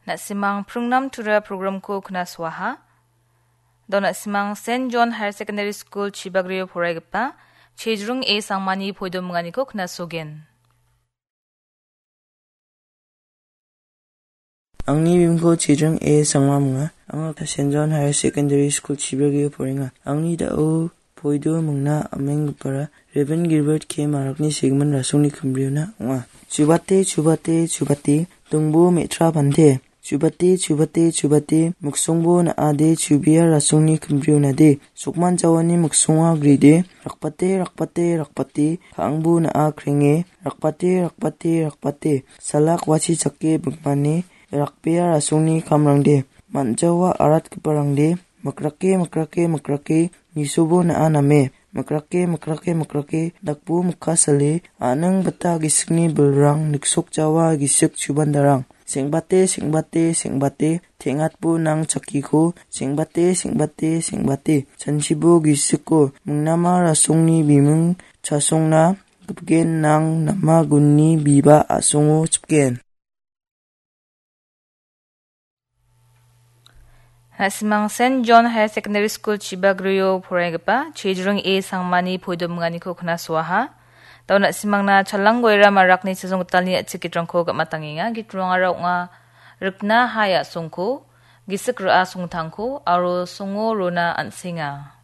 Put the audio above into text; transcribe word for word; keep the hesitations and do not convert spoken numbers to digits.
Na·simang pringnam tura programko knasoaha. Dao na·simang Saint John Higher Secondary School Chibagrio poraigipa Chejrung A Sangmani poidominganiko knasogen. Angni bimingko Chejrung A Sangma ong·a. Anga Saint John Higher Secondary School Chibagrio porenga. Angni dao poido mingna am·enggipara Reverend Gilbert K Marakni segimin rasongni kimbriona ong·a. Chubate, chubate, chubate, dongbo me·tra bante. Chubate, chubate, chubate, miksongbo na·ade, chubea rasongni kimbrionade. Sokman jawani miksonga gride, rakbate, rakbate, rakbate, ka·angbo na·a krenge, rakbate, rakbate, rakbate, salak wachi chake bingmane, rakbea rasongni kamrangde, man·jawa aratgiparangde, mikrake, mikrake, mikrake, nisobo na·a name, mikrake, mikrake, mikrake, dakbo mikka sale, a·ning bita gisikni bilrang, niksokjawa gisik chubandarang, seng·bate, seng·bate, seng·bate, teng·atbo nang chakkiko, seng·bate, seng·bate, seng·bate, chanchibo gisiko, mingnama rasongni biming chasongna gipgen nang nama gunni biba a·songo chipgen. Na·simang Saint John Higher Secondary School Chibagrio poraigipa Chejrung A Sangmani poidominganiko knasoaha. Dao na·simangna Chalanggoira Marakni chasong gitalni a·chik gitrangko gam·atangenga. Gitrangara ong·a rikna hai a·songko, gisik ra·a songtangko, aro songo rona an·senga.